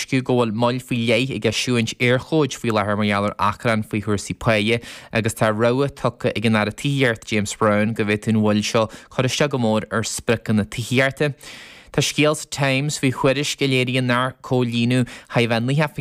tuairisciú go bhfuil moill faoi leith ag eisiúint Éirchóid faoi láthair mar gheall ar achrann faoi chúrsaí páighe agus tá rabhadh tugtha ag an Aire Tithíochta James Browne go bhféadfadh an mhoill seo cur isteach go mór ar spriocanna tithíochta. Tá scéal sa Times faoi thuairisc a léiríonn nár comhlíonadh chóir a bheith 90%.